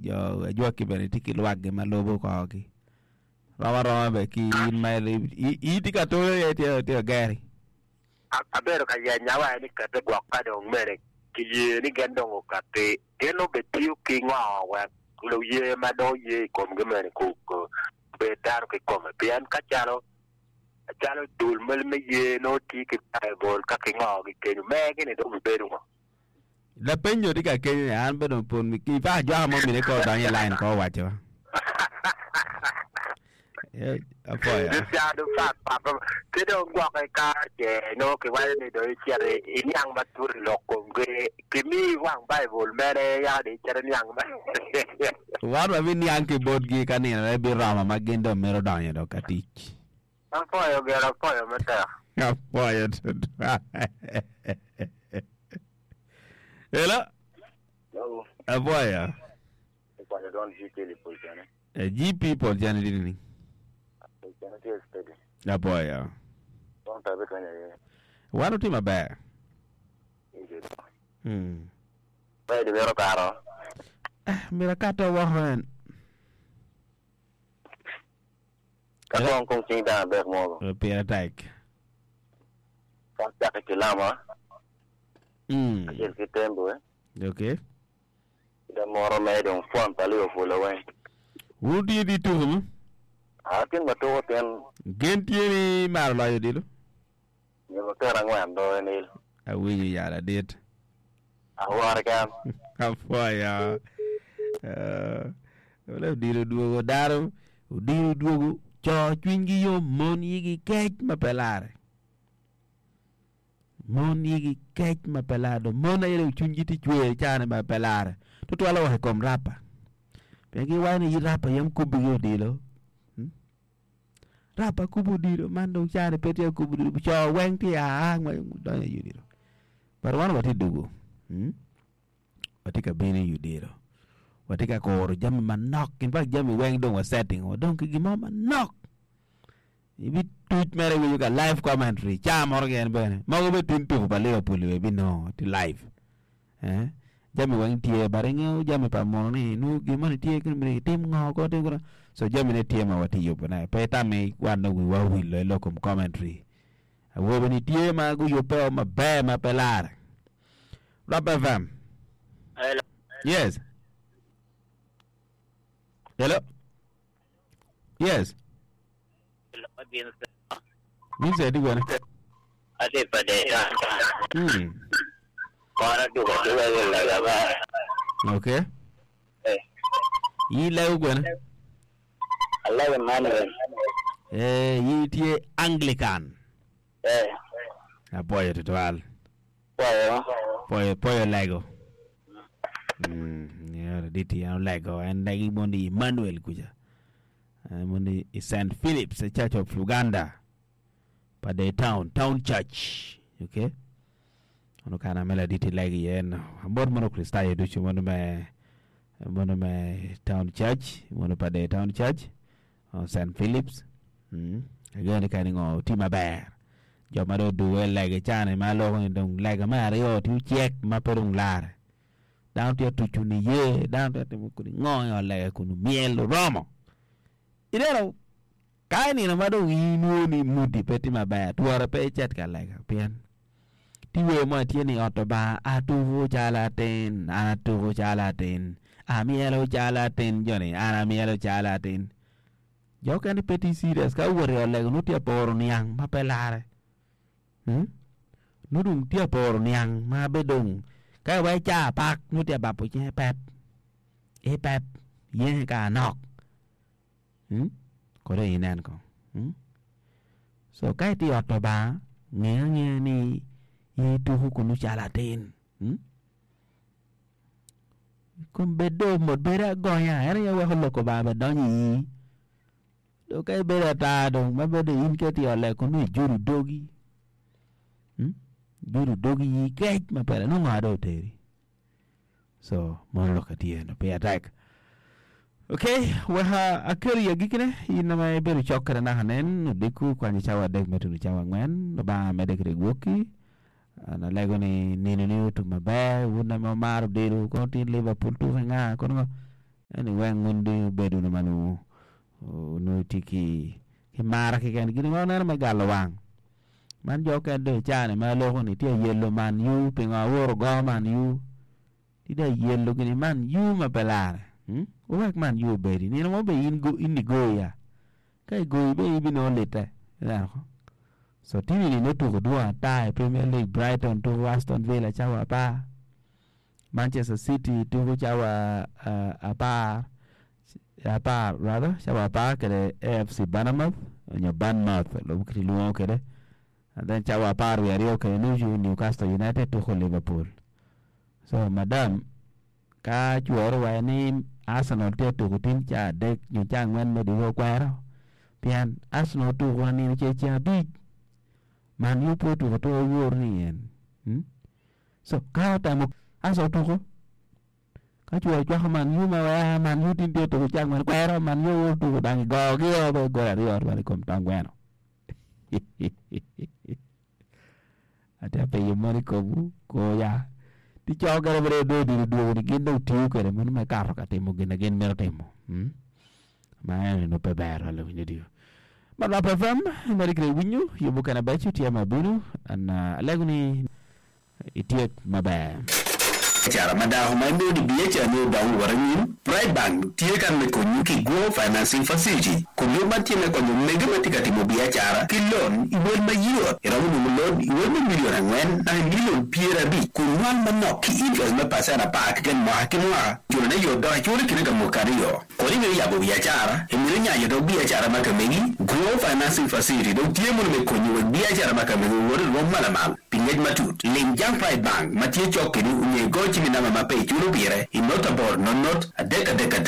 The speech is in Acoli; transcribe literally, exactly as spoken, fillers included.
Jo ajwaki bene tye ki lwakgi ma lubo korgi. Rom aroma bene ki in ma in tye ka tolo iye tye tye ageri. Abedo ka yenya wa ni kete gwok ka dong mene kiye ni gin dong okati gin obetiyo ki ngo wek luye ma dong oye i komgi mene ku bed dano kikome pien ka calo calo dul me ye nongo tye ki Baibul ka kingogi kenyo megi-ni dong obedo ngo. Lapenyo tye ka kenyo ni an bene pon ki pa ajwaka mo mine ko odonyo i line ko owaco. Eh, apoya. Cado pat pat ki dong gwoke ka ce nongo kiwaco ni dong icito iniang matut i lok komgi kimiyi wang Baibul mere yaka dong icito iniang ma Wan wabiniang ki botgi ka nino biromo ma gin dong mito donyo dong ka tic. Apoyo gira apoyo matek. Apoyo tutwal. Hello. Hello. Apoyo. Ikwanyo don G P Pol Cene. Eh, G P Pol Cene tye ni. Pol Cene tye steady. Apoyo. Don tabi kanya ye. Wan otye maber. Easy. Hmm. Pe di mito karo. Eh, mira kato woko en. Ka kong kong cing dano adek mogo. Pire tek. Ka caki ki lama. Mm. Acel ki tembo. Okay. Da moro me dong fon pa Liverpool weng. Wun tye di tuko mo? Ah, tin ma tuko tin. Gen tye ni maro loyo dilo? Nyebo kera ngwen do enil. Awinyo yala dit. Awore kan. Apoya. Uh, ole odilo dwogo dano, odilo dwogo, co cwinygi yom, mon yigi kec ma pe lare. Mon yigi kec ma pe lare. Mon aye dong cwinygi tye cwer cane ma pe lare. Tutwal woko i kom rapa. Pien giwaco ni rapa yam kubigi odilo. Hmm? Rapa kubo odilo, man dong cane pe tye kubo odilo. Co weng tye aa donyo i odilo. But wan watye dugu. Hmm? Watye ka bino i odilo. Watye ka kuro jami manok. In fact jami weng dong wa setting. Wadong ki gimo manok. Ibi tuc mere winyo ka live commentary. Ca moro keken bene. Mogo be tin tuko pa Liverpool be binongo ti live. Eh? Jami weng tye but ingeo jami pa muno ni nu gimo ni tye kini tim ngo ko tim ko. So jami ne tye ma watye yubone. Pe itami wan dong wiwa owilo i lok kom commentary. Awobe ni tye ma guyubbe maber ma pe lare. Rap F M. Hello. Yes. Hello. Yes. Vincent di gwene. Ati pa deta. Mm. Kora duka duka lega ba. Okay. Eh. Yi lego gwene. Allah Emmanuel. Eh, yi tye Anglican. Eh. Apoyo tutwal. Poyo. Poyo poyo lego. Mm, yeah, diti en lego en legi mondi Emmanuel kuja. Eh, mondi i Saint Philip's Church of Uganda. Pa the town, town church. Okay. Ono kana mela diti legi yen. Amor mono Kristayo ducu mondo me mondo me town church, mondo pa the town church. Uh, Saint Philip's. Mm. Ageno kani ngo ti maber. Jo ma dong oduwe lege cane ma loko ni dong lega me aryo ti ocek ma pe dong lare. Dano tye tucu ni ye, dano tye timo kuni ngo i ot lega kunu myel oromo. Ineno ka inino ma dong inwo ni mudi pe tye maber, twere pe icit ka lega pien ti wer mo tye ni ot Lubanga atuko calo atin, an atuko calo atin, amyelo calo atin, joni an amyelo calo atin. Jo okene pe tye serious ka owot i ot lega nongo tye aporo niang ma pe lare. Hmm? Nongo dong tye aporo niang ma be dong ka iweko ca apak nongo tye abapo cinge pep. I pep yenge ka anok. Hmm? Kode inen kong. Hmm? So ka itye i ot Lubanga, nge angeya ni in ituko kunu calo atin. Hmm? Kom bed do mot bedo agonya en aye weko lok Lubanga bene donyo i ii. Dong ka ibedo ata dong ma bedo in ka itye i ot lega kunu ijudo dogi. Hmm? Ijudo dogi ii kec ma pele nongo ngo dong oteri. So mono lok atye no pire tek. Okay, weka akelo i agikine in ma ibedo cok kede naka nen odiko kwanyo cawa adek me tuno cawa angwen. Lubanga medde kede gwoki. An alego ni nino ni otum maber wun ma wumaro odilo kono tin Liverpool tuko nga kono ngo. Eni weng mundi obedo no manu no tiki ki mara kiken gini ma oneno me galo wang. Man jo ken do chane ma loko ni tye yellow man yu pingo aworo go man yu. Tida yellow gini man yu ma pe lare. Hmm? Owek man yu obedi. Nino mo be in go in go ya. Ka igo ibe ibino lite. Ineno ko? So tini ni notugo dwong ata i Premier League Brighton tugo Aston Villa cawa apar. Manchester City tugo cawa uh, apar apar rather cawa apar kede A F C Bournemouth onyo Bournemouth lubo kiti luongo kede. And then cawa apar wiye aryo kede nucu Newcastle United tugo Liverpool. So madam ka chwero wae ni Arsenal tye tugo tin ca adek nyo ca angwen me diwo kwero pien Arsenal tugo anino ce ceng abic Man U pe otuko tuko wor ni en. Hmm? So ka otemo Arsenal otuko ka cwero cwako Man U ma wea Man U tin tye tuko ca angwen kwero Man U otuko dang igogi o be gol aryo twal i kom tong gweno. Ate penyo mon i komwu koya ti co kene bene do odilo dwogo ni gin dong tiyo kwede mono me kato ka timo gin na gin mito timo. Hmm? Ma en pe ber twal winyo dio. Man Rap F M imedi kede winyo yubo kene beco tye ma bino an alego ni ityek maber. Biacara ma dako ma imito ni biacara ni odong owot anyim, Pride Bank tye kan me konyi ki Grow Financing Facility kun yub man tye me konyo mege ma tye ka timo biacara ki loan i wel mayot. Iromo nongo loan i wel me milion angwen naka i milion pyerabic kun nywal manok ki interest me pacent apar keken mwaka ki mwaka. Culone yot dok iculo i kine ka mwaka aryo. Kodi imito yabo biacara, imito nyanyo dog biacara ma ka megi, Grow Financing Facility dong tye mono me konyi wek biacara ma ka megi owot i rwom ma lamal. Pi ngec matut, lim jang Pride Bank ma tye cok kedi onyo igo cim i namba ma pe iculo pire i not aboro not not adek adek adek.